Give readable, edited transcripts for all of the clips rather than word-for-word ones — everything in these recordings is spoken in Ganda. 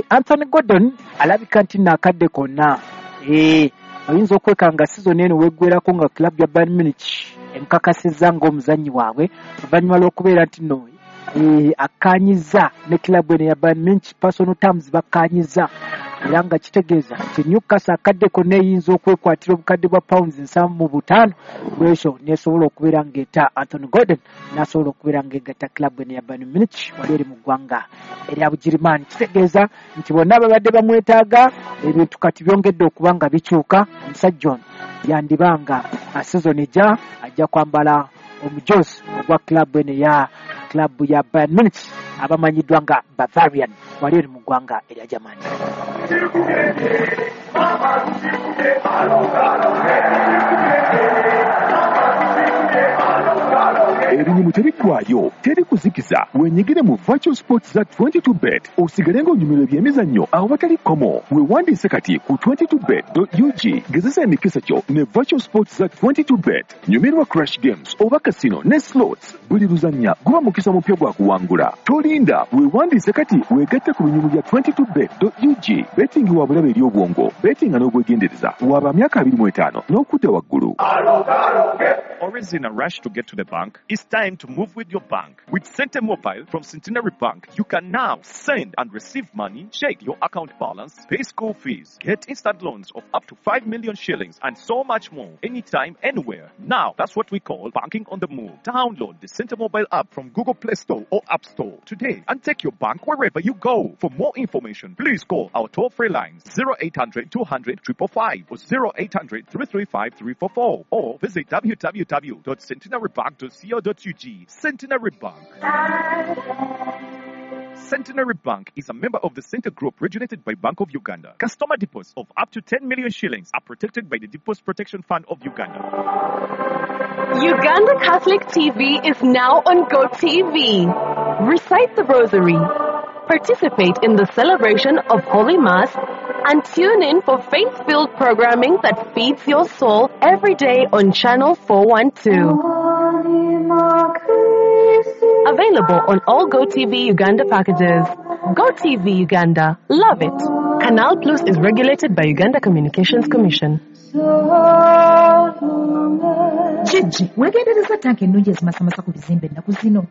Anthony Gordon alabika nti naakadde konna oyinza okwekanga season eno weggwerako nga club ya Bayern Munich emukakasizza ng'omuzannyi waabwe, oluvannyuma lw'okubeera nti no akkaanyizza ne club eno ya Bayern Munich, personal terms bakkaanyizza, era nga kitegeeza nti Newcastle akadde konna eyinza okwekwatira obukadde bwa pounds 75 bwekyo nesobola okubeera ng'eta Anthony Gordon n'asobola okubeera ng'egatta club eno ya Bayern Munich wali eri mu ggwanga erya Bugirimaani. Kitegeeza nti bonna babadde bamwetaaga, ebintu kati byongedde okuba nga bikyuka. Omusajja ono yandibanga season ejja ajja kwambala omujozi ogwa club eno ya club ya Bayern Munich abamanyiddwa nga Bavarian wali eri mu ggwanga erya Germany. Ebinyumu tebiggwayo, teri kuzikiza. Wenyigire mu virtual sports za 22bet osigale ng'onyumirwa ebyemizannyo awatali kkomo. Weewandiise kati ku 22bet.ug, gezesa emikisa gyo ne virtual sports za 22bet. Nyumirwa crash games oba casino ne slots. Buli luzannya guba mukisa mupya gwa kuwangula. Tolinda, weewandiise kati weegatte ku binyumu bya 22bet.ug. Betting wa bulabe eri obwongo, bettinga n'obwegendereza. Waba myaka 25 n'okudda waggulu. Always in a rush to get to the bank? It's time to move with your bank. With Sente Mobile from Centenary Bank, you can now send and receive money, check your account balance, pay school fees, get instant loans of up to 5 million shillings, and so much more, anytime, anywhere. Now, that's what we call banking on the move. Download the Sente Mobile app from Google Play Store or App Store today and take your bank wherever you go. For more information, please call our toll-free lines 0800 200 555 or 0800 335 344 or visit www.centenarybank.co.ug. Centenary Bank. Centenary Bank is a member of the Center Group regulated by Bank of Uganda. Customer deposits of up to 10 million shillings are protected by the Deposit Protection Fund of Uganda. Uganda Catholic TV is now on GoTV. Recite the Rosary, participate in the celebration of Holy Mass, and tune in for faith-filled programming that feeds your soul every day on Channel 412. Available on all GoTV Uganda packages. GoTV Uganda. Love it. Canal Plus is regulated by Uganda Communications Commission. Kijji, weegendereza tanka ennungi ezimasamasa ku bizimbe ennaku zino.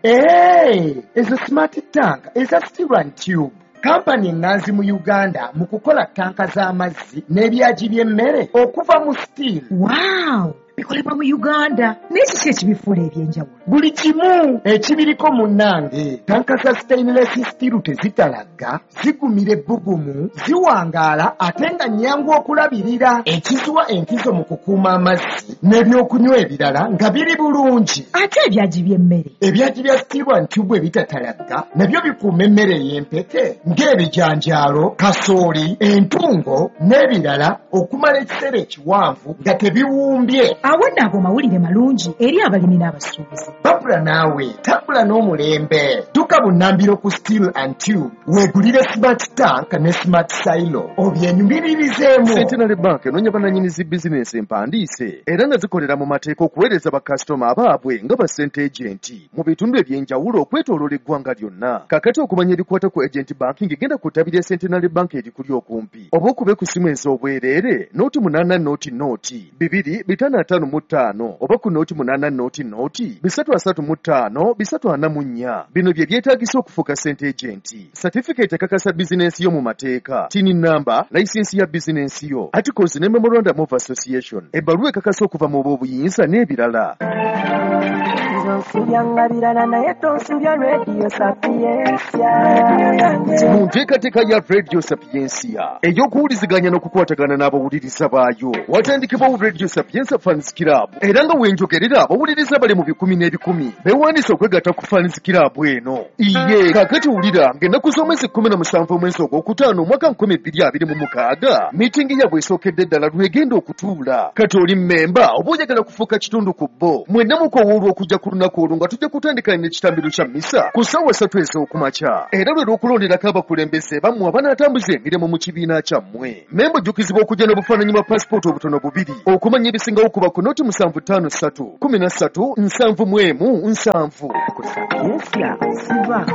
Ezo smart tank eza steel and tube. Kampani ennanzi mu Uganda mu kukola tanka z'amazzi n'ebyagi by'emmere okuva mu steel. Wow! Bikolebwa mu Uganda. Naye kiki ekibifuula ebyenjawulo? Buli kimu ekibiriko munnange. Tanka za stainless steel tezitalagga, zigumira ebbugumu, ziwangaala ate nga nnyangu okulabirira. Ekiziwa enkizo mu kukuuma amazzi n'ebyokunywa ebirala nga biri bulungi. Ate ebyagi by'emmere? Ebyagi bya steel and tube ebitatalagga nabyo bikuuma emmere ey'empeke ng'ebijanjaalo, kasooli, entungo n'ebirala okumala ekiseera ekiwanvu nga tebiwumbye. Awo nno ago mawulire malungi eri abalimi n'abasuubuzi. Babula naawe, tambula n'omulembe. Dduka bunnambiro ku Steel and Tube, weegulire smart tank ne smart silo obyenyumiririzeemu. Centenary Bank enoonya bannannyini zi bizinensi empandiise era nga zikolera mu mateeka okuweereza bakasitoma abaabwe nga ba sente agent mu bitundu eby'enjawulo okwetooloola eggwanga lyonna. Kaakati okumanya ebikwata ku agent banking, genda ku ttabi lya Centenary Bank erikuli okumpi oba okube ku ssimu ez'obwereere 080 0 2 255 oba ku 080 0 335 344. Bino bye byetaagisa okufuuka sente agent: certificate ekakasa bizinensi yo mu mateeka, TIN number, license ya bizinensi yo, articles ne memorandum of association, ebbaluwa ekakasa okuva mu b'obuyinza n'ebirala. Mu nteekateeka ya Radio Sapientia ey'okuwuliziganya n'okukwatagana n'abawuliriza baayo, watandikibwawo Radio Sapientia Fans Club, era nga wenjogerera abawuliriza bali mu bikumi n'ebikumi beewandiisa okwegatta ku Fans Club eno. Iye kaakati wulira ng'ennaku z'omwezi 17 omwezi ogwokutaano omwaka 2026 miitingi yaabwe esookedde ddala lwegenda okutuula. Kati oli mmemba oba oyagala kufuuka kitundu ku bo, mwenna mukowoolwa okujja ku lunaku olwo nga tujja kutandika n'ekitambiro kya mmisa ku ssaawa 3 ez'okumakya, era lwe lw'okulonderako abakulembeze bammwe abanaatambuza emirimu mu kibiina kyammwe. Memba ojjukizibwa okujja n'obufaananyi bwa pasipooti obutono bubiri. Okumanya ebisingawo kuba ku 075 3 13 71 7. Ku Sapientia siva.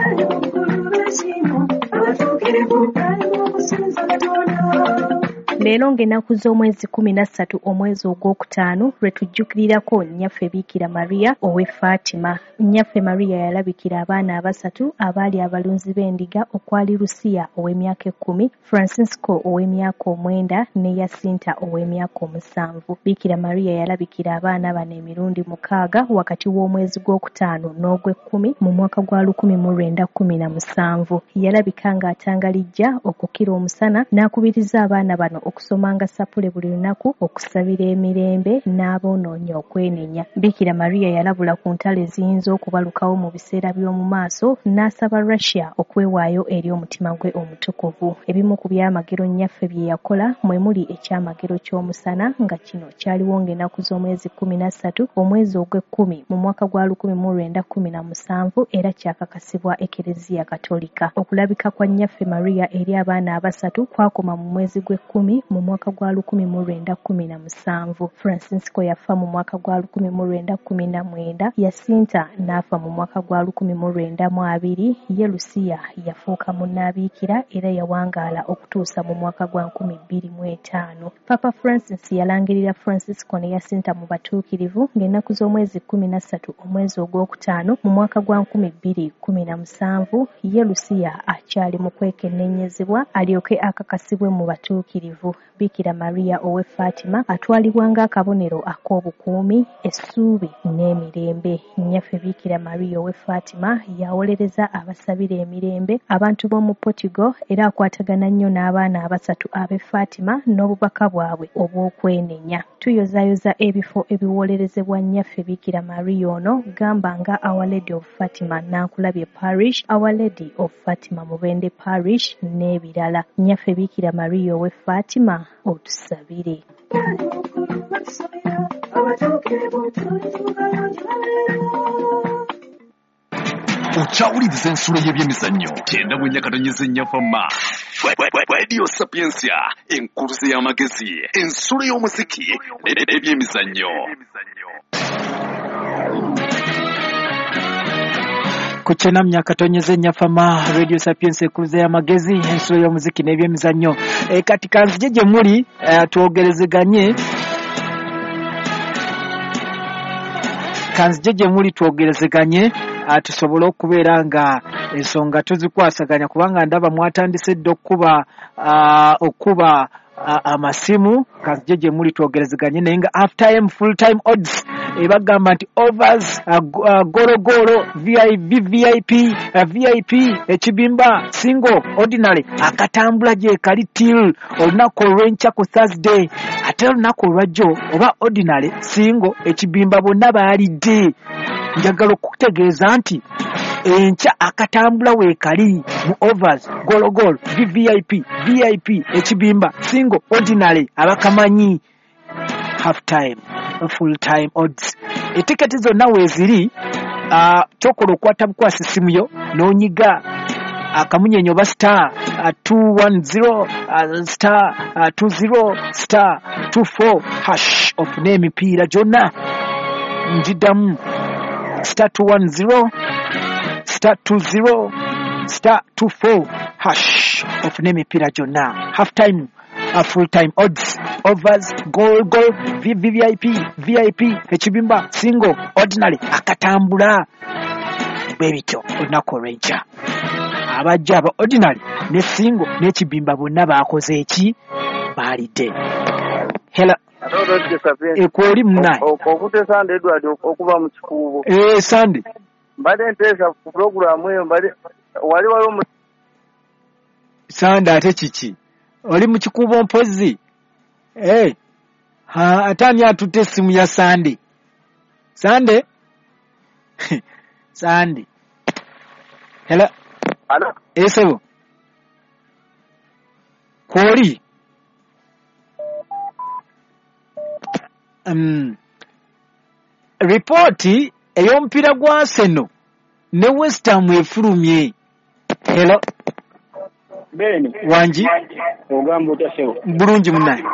Leero ng'ennaku z'omwezi 13 omwezi ogwokutaano lwe tujjukirirako Nnyaffe Biikira Maria ow'e Fatima. Nnyaffe Maria yalabikira abaana abasatu abaali abalunzi b'endiga okwali Lucia ow'emyaka 10, Francisco ow'emyaka 9 ne Yasinta ow'emyaka 7. Biikira Maria yalabikira abaana bano emirundi 6 wakati w'omwezi gwokutaano n'ogw'ekkumi mu mwaka gwa 1917. Yalabika ng'atangalijja okukira omusana n'akubiriza abaana bano okusomanga sapule buli lunaku, okusabira emirembe n'aboonoonyi okwenenya. Biikira Maria yalabula ku ntalo eziyinza okubalukawo mu biseera by'omu maaso n'asaba Russia okwewaayo eri omutima gwe omutukuvu. Ebimu ku byamagero Nnyaffe bye yakola mwe muli ekyamagero ky'omusana nga kino kyaliwo ng'ennaku z'omwezi 13 omwezi ogw'ekkumi mu mwaka gwa 1917 era kyakakasibwa Ekereziya Katolika. Okulabika kwa Nnyaffe Maria eri abaana abasatu kwakoma mu mwezi gw'ekkumi mu mwaka gwa 1917. Francisco yafa mu mwaka gwa 1919, Yasinta n'afa mu mwaka gwa 1920, ye Lucia yafuuka munnabiikira era yawangaala okutuusa mu mwaka gwa 2005. Papa Francis yalangirira Francisco ne Yasinta mu batuukirivu ng'ennaku z'omwezi 13 omwezi ogwokutaano mu mwaka gwa 2017, ye Lucia akyali mu kwekenneenyezebwa alyoke akakasibwe mu batuukirivu. Biikira Maria ow'e Fatima atwalibwa ng'akabonero ak'obukuumi, essuubi n'emirembe. Nnyaffe Biikira Maria ow'e Fatima yawolereza abasabira emirembe abantu b'omu Portugal era akwatagana nnyo n'abaana abasatu ab'e Fatima n'obubaka bwabwe obw'okwenenya. Tuyozaayoza ebifo ebiwolerezebwa Nnyaffe Biikira Maria ono gamba nga Our Lady of Fatima Nankulabye Parish, Our Lady of Fatima Mubende Parish n'ebirala. Nnyaffe Biikira Maria ow'e Fatima otusabire. Okyawuliriza ensulo y'ebyemizannyo 94.4 Fama Radio Sapientia, enkuluze y'amagezi, ensulo y'omuziki n'ebyemizannyo. Ku 94.4 Fama Radio Sapientia, enkuluze y'amagezi, ensulo y'omuziki n'ebyemizannyo. Kati kanzije gye muli twogerezeganye. Kanzije gye muli twogerezeganye tusobole okubeera nga ensonga tuzikwasaganya, kubanga ndaba mwatandise dda okuba amasimu. Kanzije gye muli twogerezeganye, naye nga half time full time odds ebagamba nti overs, gologolo, VIP, VIP, ekibimba, single, ordinary akatambula gye kali till olunaku olw'enkya ku Thursday. Ate olunaku olwajjo oba ordinary, single, ekibimba bonna baalidde. Njagala okutegeeza nti enkya akatambula weekali mu overs, gologolo, VVIP, VIP, ekibimba, single, ordinary abakamanyi half time full time odds. Etiketi zonna weeziri, kyokola okwata bukwasi simu yo n'onyiga akamunyenyo oba star 210 star 20 star 24 hash ofune emipiira gyonna. Njiddamu star 210 star 20 star 24 hash ofune emipiira gyonna. Half time full time odds, overs, goal goal, VVIP, VIP, ekibimba, single, ordinary akatambula bwe bityo olunaku olw'enkya. Abajja aba ordinary ne single n'ekibimba bonna baakoze eki? Baalidde. Hello. Ekwoli munaye. Okute Sande Edward okuva mu Kikuubo. Sande. Mbadde nteesa ku pulogulaamu eyo, mbadde wali waliwo Sande ate kiki? Oli mu Kikuubo mpozzi? Ate ani atutte essimu ya Sande? Sande? Sande. Hello. Hello. Esebo. Kwoli. Ripooti ey'omupiira gwa Arsenal ne West Ham efulumye. Hello. Beni. Wangi. Ogamba otya ssebo? Bulungi munnaye.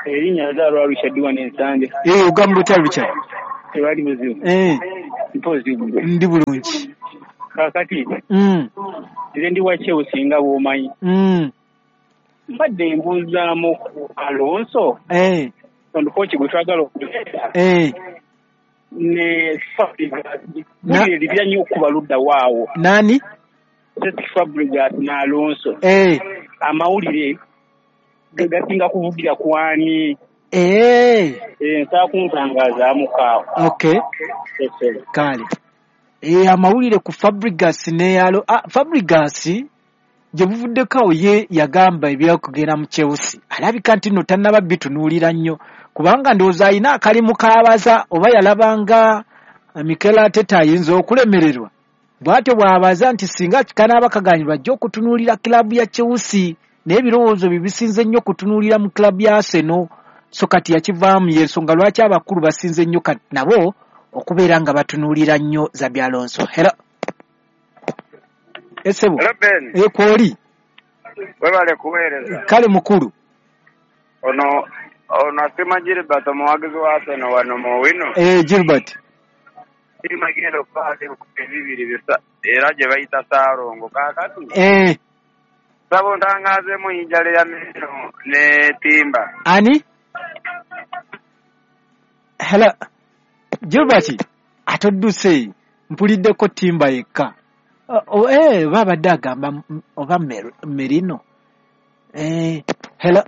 Erinnya nzaalwa Richard wano Ensande. Ogamba otya Richard? Tewali buzibu. Mpozi gwe. Ndi bulungi. Kaakati. Nze ndi wa Chelsea nga bw'omanyi. Mbadde mbuuzaamu ku Alonso. Ono kooki gwe twagala okuleeta. Ne Fabregas. Buli libya nnyo okuba ludda waawo. Nani? Cesc Fabregas ne Alonso. Amawulire gasinga kuvugira kwani? Nsaba kuntangazaamu kaawo. Okay. Kale. Amawulire ku Fabregas ne Fabregas gye buvuddeko awo ye yagamba ebyokugenda mu Chelsea. Alabika nti nno tannaba bitunuulira nnyo kubanga ndowooza alina akalimu k'abaza oba yalabanga Mikel Arteta ayinza okulemererwa. Bw'atyo bw'abaza nti singa kanaaba kaganyulwa ajja okutunuulira kilaabu ya Chelsea naye ebirowoozo bye bisinze nnyo kutunuulira mu kilaabu ya Arsenal. So kati yakivaamu y'ensonga lwaki abakulu basinze nnyo kati nabo okubeera nga batunuulira nnyo Xabi Alonso. Hello. Esebo. Hello Ben. Kwoli. Webale kuweereza. Kale mukulu. Ono asima Gilbert omuwagizi wa Arsenal wano mu Owino. Gilbert. Sima genda okubaako ebikopo ebibiri bisa era gye bayita Saalongo kaakati. Saba ontangaazeemu yinjala ya Merino ne Timba. Ani? Hello. Gilbert atodduse mpuliddeko Timba yekka. Babadde agamba oba Merino. Hello.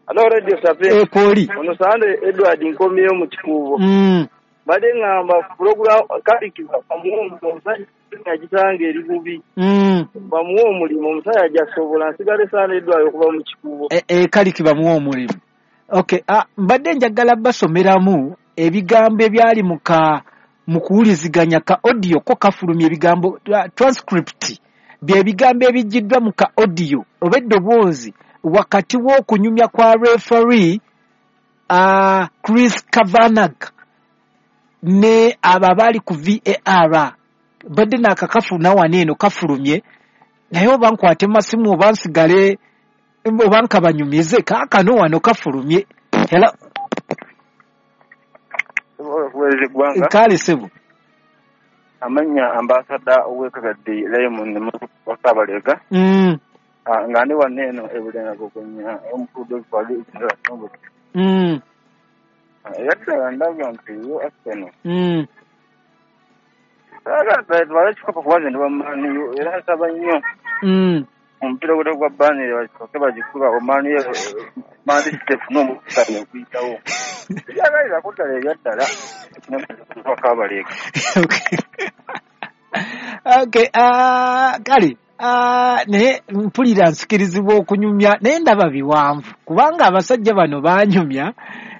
Hello Radio Sapienza. Kwoli. Ono Sande Edward nkomyeyo mu Kikuubo. Mbadde ŋŋamba program kalikiba bamuwe omusajja agisanga eri bubi. Bamuwe omulimu omusajja ajasobola nsigale Sande Edward okuva mu Kikuubo. Kaliki bamuwe omulimu. Okay, mbadde njagala basomeramu ebigambo ebyali mu kuwuliziganya ka audio ko kafulumya ebigambo transcript bye bigambo ebijjiddwa mu ka audio oba eddoboozi wakati w'okunyumya kwa referee Chris Kavanagh ne abo abaali ku VAR. Mbadde naakakafuna wano eno kafulumye naye oba nkwate masimu oba nsigale oba nkabanyumize kaakano wano kafulumye. Hello. Kale sebo. Amannya ambasada ow'Ekagadde Raymond Wakabalega. Nga ndi wano eno e Bulenga Gogonya omukulu w'ebitwalo ekirala Songote. Era ddala ndaba nti yo Arsenal. Twala ekikopo kuba nze ndi wa Man U era nsaba nnyo. Omupiira ogwo gwa Burnley bakikoke bagikuba Man U Man City efune omukisa okuyitawo. Ebyagalirako ddala ebyaddala Wakabalega. Okay, kale naye mpulira nsikirizibwa okunyumya naye ndaba biwanvu kubanga abasajja bano banyumya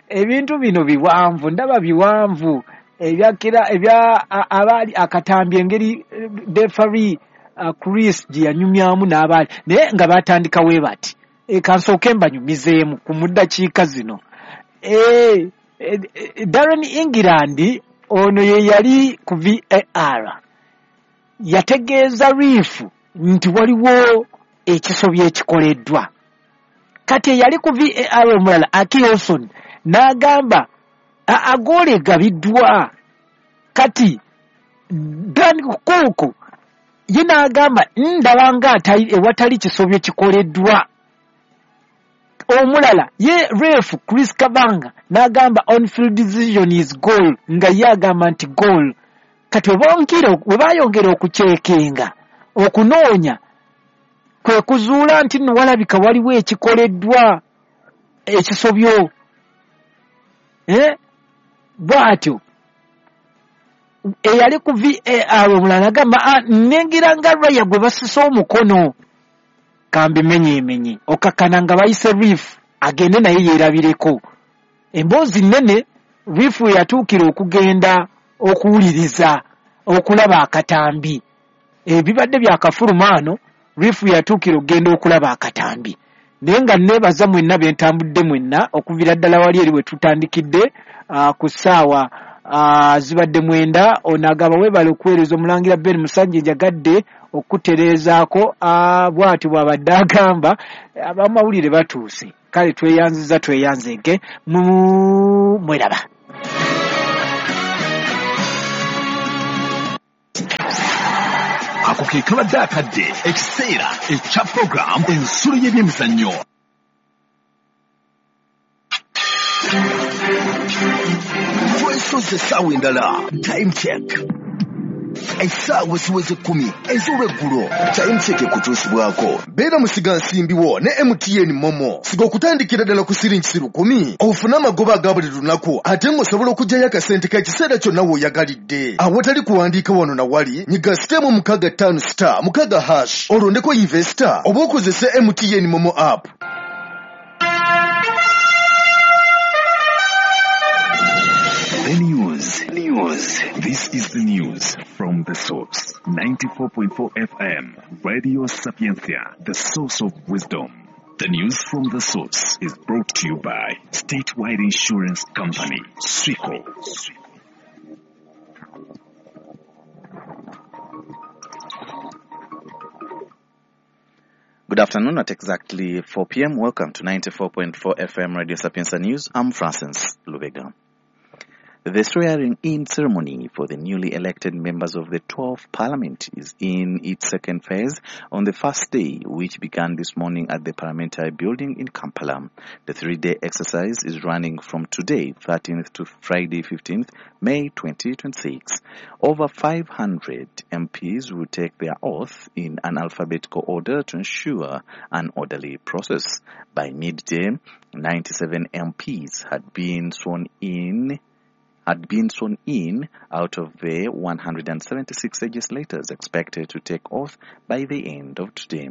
ebintu bino biwanvu ndaba biwanvu ebyakira ebya abaali akatambi engeri referee Chris gye yanyumyamu n'abaali naye nga batandika we bati kansooke mbanyumizeemu ku muddakiika zino. Darren England ono ye yali ku VAR yategeeza riifu nti waliwo ekisobyo ekikoleddwa. Kati eyali ku VAR omulala Aki Olson n'agamba agoole egabiddwa. Kati Dan Cook ye n'agamba ndaba nga ewatali kisobyo kikoleddwa. Omulala ye ref Chris Kabanga n'agamba on-field decision is goal nga ye agamba nti goal. Kati we bayongera okucekenga okunoonya kwe kuzuula nti nno walabika waliwo ekikoleddwa ekisobyo. Bw'atyo eyali ku VAR omulala agamba nnengera nga Raya gwe basise omukono kambimenyeemenye okakkana nga bayise Reef agende naye yeerabireko. Emboozi nnene Reef we yatuukira okugenda okuwuliriza okulaba akatambi. Ebibadde byakafuluma ano Reef yatuukira okugenda okulaba akatambi. Naye nga neebaza mwenna be ntambudde mwenna okuviira ddala wali eri we tutandikidde ku ssaawa zibadde 9. Ono agamba weebale okuweereza omulangira Ben Musanje njagadde okutereezaako bw'atyo bw'abadde agamba abamawulire batuuse. Kale tweyanziza tweyanzege mweraba. Ako ke kabadde akadde ekiseera ekya program ensulo y'ebyemizannyo. Twesoze essaawa endala. Time check. Essaawa ziweze 10 ez'olweggulo. Time check ekutuusibwako. Beera musigansimbi wo ne MTN Momo. Siga okutandikira ddala ku siringi 10,000 ofune amagoba aga buli lunaku ate ng'osobola okuggyayo akasente k'ekiseera kyonna w'oyagalidde. Awatali kuwandiika wano na wali, nyiga *656 *6# olondeko investor oba okozese MTN Momo app. The news. This is the news from the source. 94.4 FM, Radio Sapientia, the source of wisdom. The news from the source is brought to you by Statewide Insurance Company, SWICO. Good afternoon at exactly 4 p.m. Welcome to 94.4 FM Radio Sapientia News. I'm Francis Lubega. The swearing-in ceremony for the newly elected members of the 12th Parliament is in its second phase on the first day, which began this morning at the Parliamentary Building in Kampala. The three-day exercise is running from today, 13th to Friday, 15th May 2026. Over 500 MPs will take their oath in an alphabetical order to ensure an orderly process. By midday, 97 MPs had been sworn in out of the 176 legislators expected to take oath by the end of today.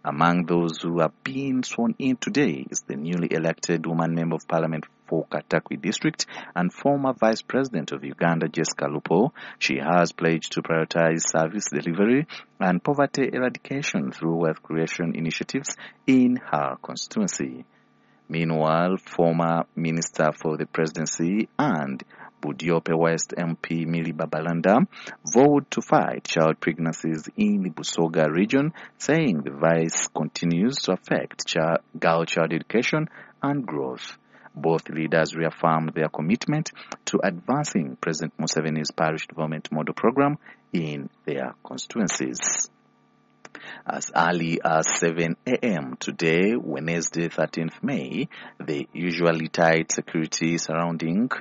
Among those who have been sworn in today is the newly elected woman member of parliament for Katakwi district and former vice president of Uganda, Jessica Lupo. She has pledged to prioritize service delivery and poverty eradication through wealth creation initiatives in her constituency. Meanwhile, former Minister for the Presidency and Budiope West MP Milly Babalanda vowed to fight child pregnancies in the Busoga region, saying the vice continues to affect girl child education and growth. Both leaders reaffirmed their commitment to advancing President Museveni's parish development model program in their constituencies. As early as 7 a.m. today, Wednesday, 13th May, the usually tight security surroundings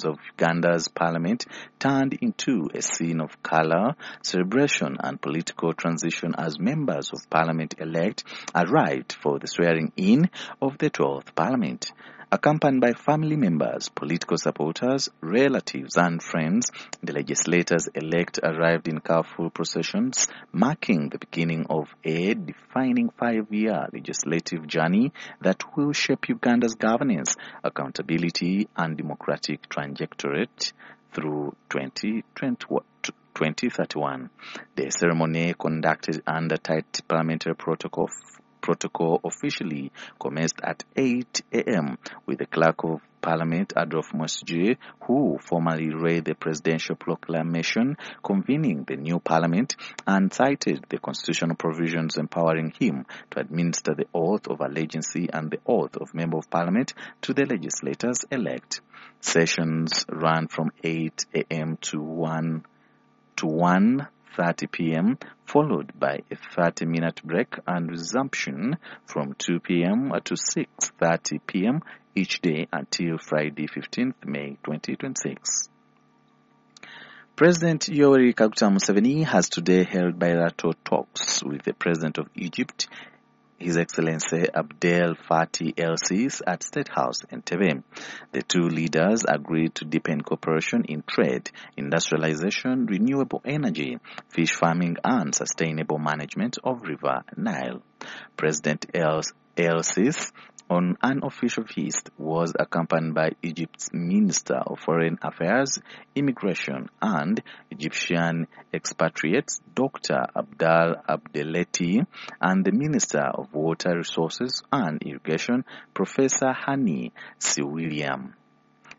of Uganda's parliament turned into a scene of color, celebration and political transition as members of parliament-elect arrived for the swearing-in of the 12th parliament. Accompanied by family members, political supporters, relatives and friends, the legislators-elect arrived in careful processions, marking the beginning of a defining 5-year legislative journey that will shape Uganda's governance, accountability and democratic trajectory through 2031. The ceremony, conducted under tight parliamentary protocol officially commenced at 8 a.m. with the Clerk of Parliament, Adolf Mosji, who formally read the presidential proclamation convening the new parliament and cited the constitutional provisions empowering him to administer the oath of allegiance and the oath of member of parliament to the legislators-elect. Sessions ran from 8 a.m. to 1:30 p.m., followed by a 30-minute break and resumption from 2 p.m. to 6:30 p.m. each day until Friday, 15th May 2026. President Yoweri Kaguta Museveni has today held bilateral talks with the President of Egypt, His Excellency Abdel Fattah el-Sisi, at State House Entebbe. The two leaders agreed to deepen cooperation in trade, industrialization, renewable energy, fish farming and sustainable management of River Nile. President el-Sisi, on an official visit, was accompanied by Egypt's Minister of Foreign Affairs, Immigration and Egyptian Expatriates, Dr. Abdal Abdeleti, and the Minister of Water Resources and Irrigation, Professor Hani Siwiliam.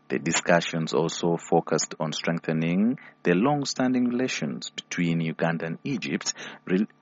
The discussions also focused on strengthening the long-standing relations between Uganda and Egypt,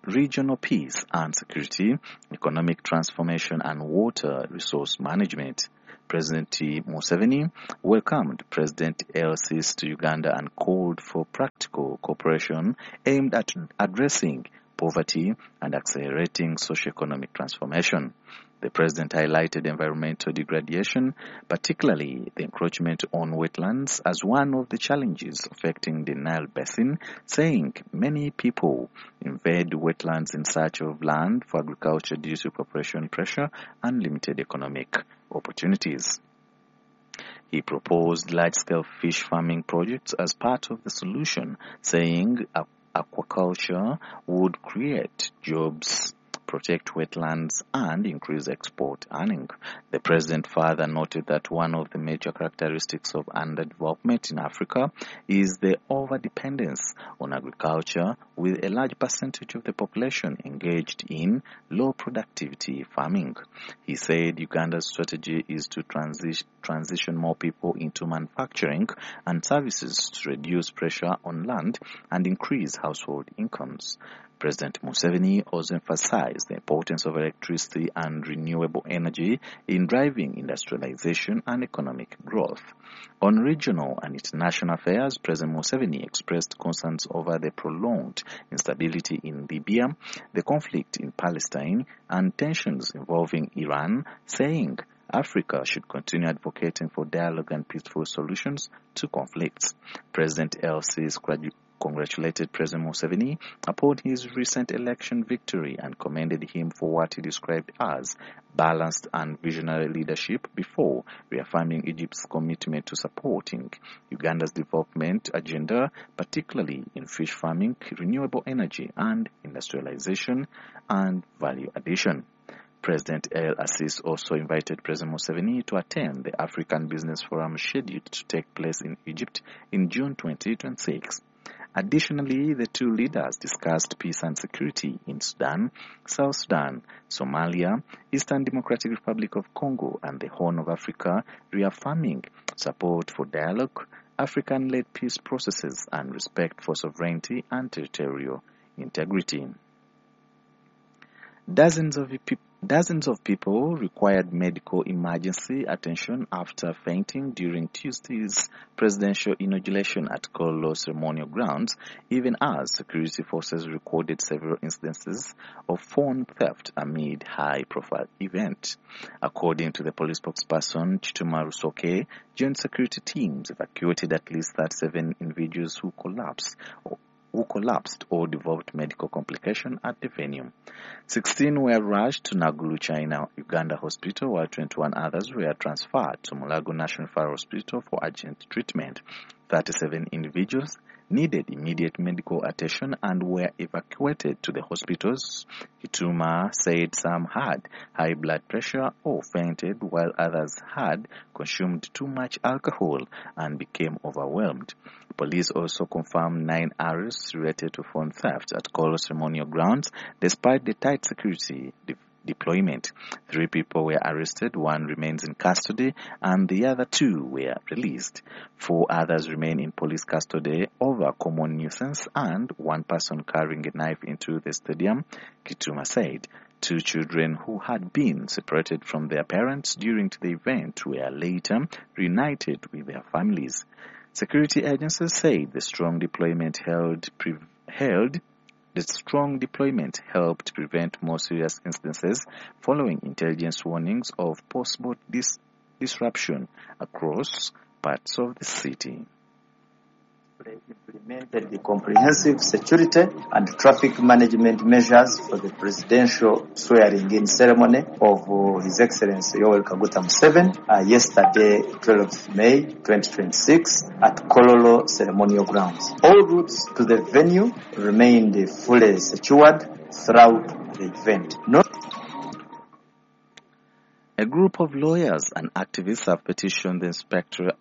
regional peace and security, economic transformation and water resource management. President Museveni welcomed President El-Sisi to Uganda and called for practical cooperation aimed at addressing poverty and accelerating socio-economic transformation. The president highlighted environmental degradation, particularly the encroachment on wetlands, as one of the challenges affecting the Nile Basin, saying many people invade wetlands in search of land for agriculture due to population pressure and limited economic opportunities. He proposed large-scale fish farming projects as part of the solution, saying aquaculture would create jobs, protect wetlands, and increase export earning. The president further noted that one of the major characteristics of underdevelopment in Africa is the overdependence on agriculture, with a large percentage of the population engaged in low productivity farming. He said Uganda's strategy is to transition more people into manufacturing and services to reduce pressure on land and increase household incomes. President Museveni also emphasized the importance of electricity and renewable energy in driving industrialization and economic growth. On regional and international affairs, President Museveni expressed concerns over the prolonged instability in Libya, the conflict in Palestine, and tensions involving Iran, saying Africa should continue advocating for dialogue and peaceful solutions to conflicts. President El-Sisi congratulated President Museveni upon his recent election victory and commended him for what he described as balanced and visionary leadership, before reaffirming Egypt's commitment to supporting Uganda's development agenda, particularly in fish farming, renewable energy, and industrialization and value addition. President El-Sisi also invited President Museveni to attend the African Business Forum scheduled to take place in Egypt in June 2026. Additionally, the two leaders discussed peace and security in Sudan, South Sudan, Somalia, Eastern Democratic Republic of Congo, and the Horn of Africa, reaffirming support for dialogue, African-led peace processes, and respect for sovereignty and territorial integrity. Dozens of people required medical emergency attention after fainting during Tuesday's presidential inauguration at Kololo ceremonial grounds, even as security forces recorded several instances of phone theft amid high-profile event. According to the police spokesperson Chituma Rusoke, joint security teams evacuated at least 37 individuals who collapsed or developed medical complication at the venue. 16 were rushed to Nagulu, China, Uganda Hospital, while 21 others were transferred to Mulago National Fire Hospital for urgent treatment. 37 individuals needed immediate medical attention and were evacuated to the hospitals. Kituma said some had high blood pressure or fainted, while others had consumed too much alcohol and became overwhelmed. Police also confirmed 9 arrests related to phone theft at Kololo ceremonial grounds, despite the tight security deployment. 3 people were arrested, 1 remains in custody, and the other 2 were released. 4 others remain in police custody over common nuisance and 1 person carrying a knife into the stadium, Kituma said. 2 children who had been separated from their parents during the event were later reunited with their families. Security agencies said the strong deployment helped prevent more serious instances following intelligence warnings of possible disruption across parts of the city. Implemented the comprehensive security and traffic management measures for the presidential swearing-in ceremony of His Excellency Yoweri Kaguta Museveni yesterday, 12th May 2026, at Kololo Ceremonial Grounds. All routes to the venue remained fully secured throughout the event. A group of lawyers and activists have petitioned the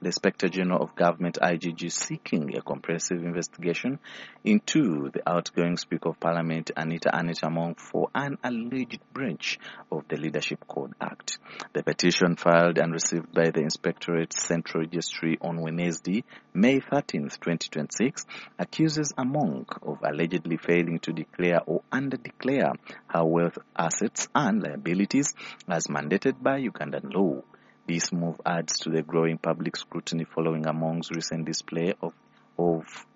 Inspector General of Government IGG seeking a comprehensive investigation into the outgoing Speaker of Parliament Anita Among for an alleged breach of the Leadership Code Act. The petition, filed and received by the Inspectorate Central Registry on Wednesday, May 13, 2026, accuses Among of allegedly failing to declare or under-declare her wealth, assets and liabilities as mandated by Ugandan law. This move adds to the growing public scrutiny following Among's recent display of